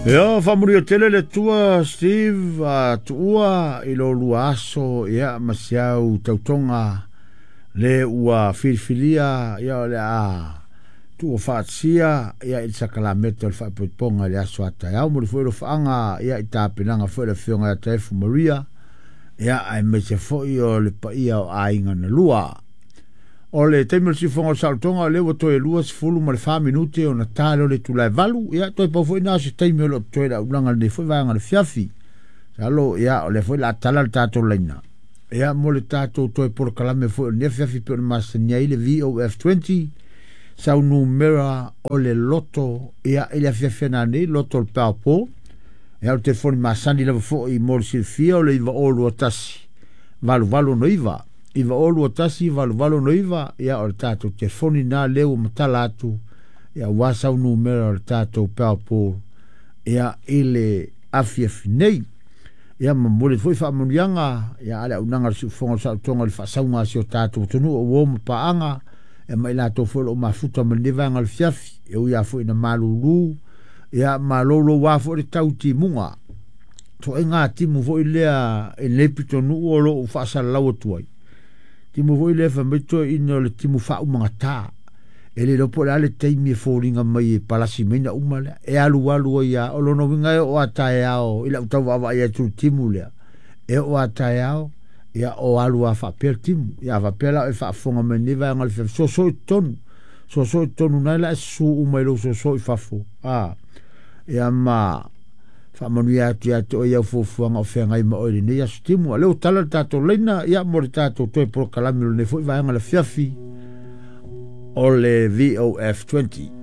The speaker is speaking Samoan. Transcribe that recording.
Ia, faamanuia tele le Atua Steve a tuua i lo lua aso ia ma si au tautoga le ua filifilia ia o le a tuua faatasia ia i le sakalameta o le faapoipoga i le aso a taeao. Momoli foi alofaaga ia i tapenaga foi le afioga ia Taefu Maria ia aemaise foi o le paia o aiga na lua. O le taimi o le siufofoga o le saolotoga o lea ua toe 24 minute ona ta lea o le itula e 8. Ia toe pau foi na o se taimi o lo o totoe i le aulaga i lenei foi vaega o le afiafi. Masalo ia o lea foi o le a tala le tatou laina ia mo le tatou toe polokalame foi o lenei afiafi pei ona masani ai le VOF20 sau numera o le loto ia i le afiafi nanei loto o le Powerpool. Ia o le telefoni masani lava foi mo le silafia o le 9021 8869 9021 8869 ia o le tatou telefoni na lea ua matala atu ia aua sau numera o le tatou Powerpool ia i le afiafi nei. Ia momoli foi faamanuiaga ia a le auaunaga a le siufofoga o le saolotoga i le faasauga a si o tatou atunuu o uo ma paaga ia ma i latou foi o lo o mafuta ma lenei vaega o le fiafi e ui lava foi ina malulu ia ma louloua foi le tau timuga. Toaiga timu foi lea i lenei pitonuu o lo o faasalalau atu ai. Timu foi lea fai mai toeaiina o le timu faaumagata. E le iloa po o le a le taimi e foliga mai e palasi mai na uma lea. E alualu ai lava. O lona uiga e oo a taeao i lau tau vaavaai atu i le timu lea. E oo a taeao, ia o alu lava faapea le timu. Ia a faapea la o e faafofoga mai i lenei vaega o le afiafi, soso i totonu. Soso i totonu na la e susu uma i lou soso i fafo. A, ia ma faamanuia atu ia te oe i au fuafuaga o feagai ma oe i lenei aso timu. A o lea ua tala le tatou laina, ia mo le tatou toe polokalame o lenei foi vaega o le afiafi o le VOF 20.